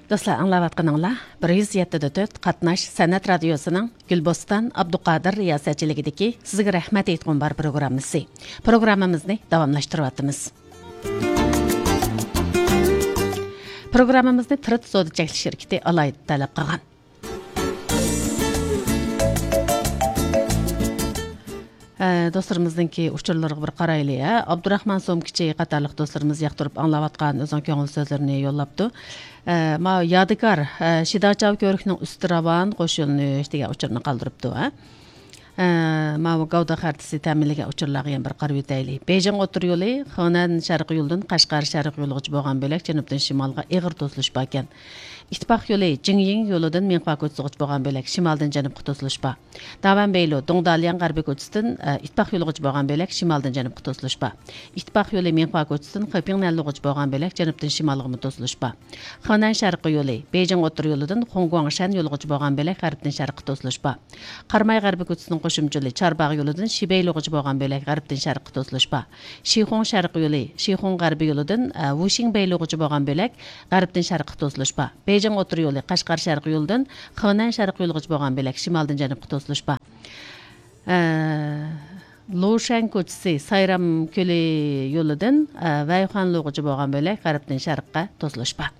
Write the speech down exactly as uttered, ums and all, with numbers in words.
دوستلار، ئاڭلاۋاتقىنىڭلار بىر يۈز يەتتە دە تۆت قاتناش سەنئەت رادىيوسىنىڭ گۈلبوستان ئابدۇقادىر رىياسەتچىلىكىدىكى سىزگە رەھمەت ئېيتقۇم بار پروگراممىسى. پروگراممىمىزنى داۋاملاشتۇرۇۋاتىمىز. پروگراممىمىزنى تىرىت سودا چەكلىك شىركىتى ئالايىت تەلەپ قىلغان. ئە، دوستلىرىمىزنىڭكى ئۇچۇرلىرىغا بىر قارايلى، ھە. ئابدۇراخمان سومكىچى قاتارلىق دوستلىرىمىز ياقتۇرۇپ ئاڭلاۋاتقان ئۆزىنىڭ كۆڭۈل سۆزلىرىنى يوللاپتۇ. ئە، ما يادىكار، ئە، شىداچاۋ كۆۋرۈكنىڭ ئۈستى راۋان قوش يۆنىلىش دېگەن ئۇچۇرنى قالدۇرۇپتۇ، ھە. ئە، ماۋۇ گاۋدا خەرىتىسى تەمىنلىگەن ئۇچۇرلارغا يەنە بىر قارىۋېتەيلى. بېيجىڭ ئوتتۇرا يولى خېنەن شەرقىي يولىدىن قەشقەر شەرقىي يولىغىچە بولغان بۆلەك جەنۇبتىن شىمالغا ئېغىر توسۇلۇش باركەن. ئىتتىپاق يولى جىڭيىڭ يولىدىن مىڭخۇا كوچىسىغىچە بولغان بۆلەك شىمالدىن جەنۇبقا توسۇلۇش بار. داۋەن بېيلۇ، دۇڭدالياڭ غەربىي كوچىسىدىن، ئە، ئىتتىپاق يولىغىچە بولغان بۆلەك شىمالدىن جەنۇبقا توسۇلۇش بار. ئىتتىپاق يولى مىڭخۇا كوچىسىدىن خېپىڭ نەنلۇغىچە بولغان بۆلەك جەنۇبتىن شىمالغىمۇ توسۇلۇش بار. خېنەن شەرقىي يولى، بېيجىڭ ئوتتۇرا يولىدىن خۇڭگۇاڭشەن يولىغىچە بولغان بۆلەك غەربتىن شەرققە توسۇلۇش بار. قاراماي غەربىي كوچىسىنىڭ قوشۇمچە يولى چارباغ يولىدىن شىبەي يولىغىچە بولغان بۆلەك غەربتىن شەرققە توسۇلۇش بار. شىخۇڭ شەرقىي يولى، شىخۇڭ غەربىي يولىدىن، ئە، ۋۇشىڭبەي يولىغىچە بولغان بۆلەك غەربتىن شەرققە توسۇلۇش بار. بېيجىڭ ئوتتۇرا يولى، قەشقەر شەرقىي يولىدىن خېنەن شەرقىي يولىغىچە بولغان بۆلەك شىمالدىن جەنۇبقا توسۇلۇش بار. ئە، لۇشەن كوچىسى، سايرام كۆلى يولىدىن، ئە، ۋەيخۇەنلۇغىچە بولغان بۆلەك غەربتىن شەرققە توسۇلۇش بار.